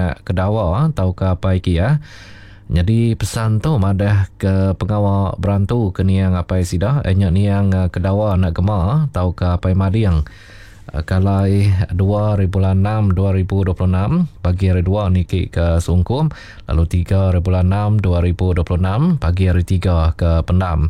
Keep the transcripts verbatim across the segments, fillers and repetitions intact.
anak Kedawa tauka Apai Kiah. Nyadi pesan tu madah ke pengawa berantu ke niang apai sida nya niang Kedawa anak Gema tauka Apai Mading kalai dua hari bulan enam dua ribu dua puluh enam pagi hari dua niki ke Sungkum, lalu tiga hari bulan enam dua ribu dua puluh enam pagi hari tiga ke Pendam.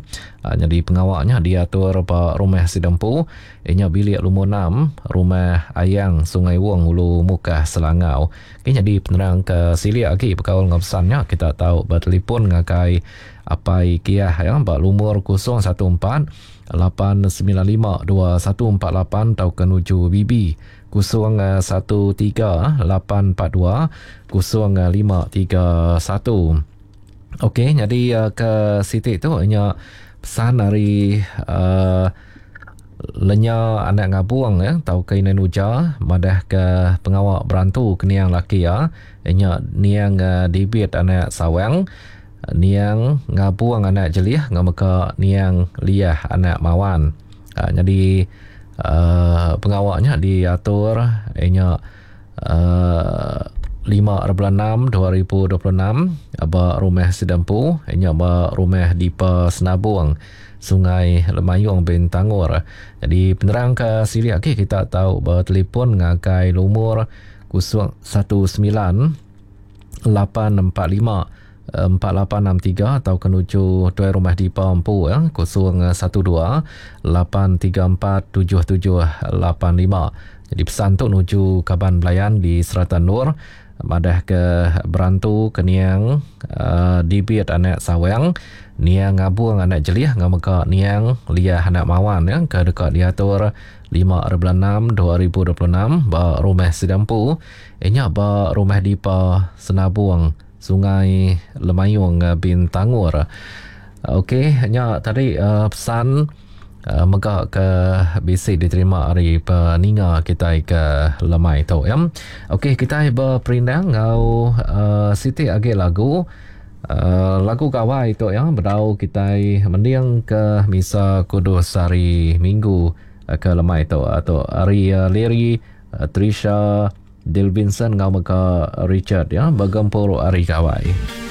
Nyadi pengawaknya diatur ba rumah Sidempu inya bilik lumur enam rumah Ayang Sungai Wong Ulu Mukah Selangau. Okay, jadi penerang ke silik lagi berkaul dengan pesannya kita tahu bertelefon ngagai Apai Kiah ya ba lumur kosong satu empat lapan sembilan lima dua satu empat lapan atau ke nuju B B kosong satu tiga lapan empat dua kosong lima tiga satu. Okey, jadi ke sitik tu nya pesan dari uh, lenya anak ngabung ya tau ke ina nuja madah ke pengawak berantu ke niang laki ya nya niang uh, dibit anak sawang niang ngabung anak jelih ngameka niang liah anak mawan. Uh, jadi uh, pengawaknya diatur nya uh, lima bulan enam dua ribu dua puluh enam ba rumah Sidempu nya ba rumah Dipa Senabung Sungai Lemayung Bintangor. Jadi penerang ke silik lagi kita tahu bertelefon ngagai lumur kosong satu sembilan lapan empat lima empat lapan enam tiga atau ke nuju tuai rumah Dipa Empu ya kosong satu dua lapan tiga empat tujuh tujuh lapan lima. Jadi pesan tu nuju kaban belayan di Serata Nur madah ke berantu ke niang uh, dibit anak sawang niang ngabung anak jelih ngameka niang liah anak mawan ya ke dekat diatur lima bulan enam dua ribu dua puluh enam ba rumah Sidampu nya ba rumah Dipa Senabung Sungai Lemayung Bintangor. Okey, nya tadi uh, pesan uh, mega ke bisi diterima hari peninga kita ke lemai tu ya. Okey, kita berperindang ngau uh, siti agi lagu uh, lagu gawai tu ya bedau kita mending ke misa kudus hari Minggu uh, ke lemai tu atau hari uh, Larry uh, Trisha Dilvinson ngau mega Richard ya bergempur hari gawai.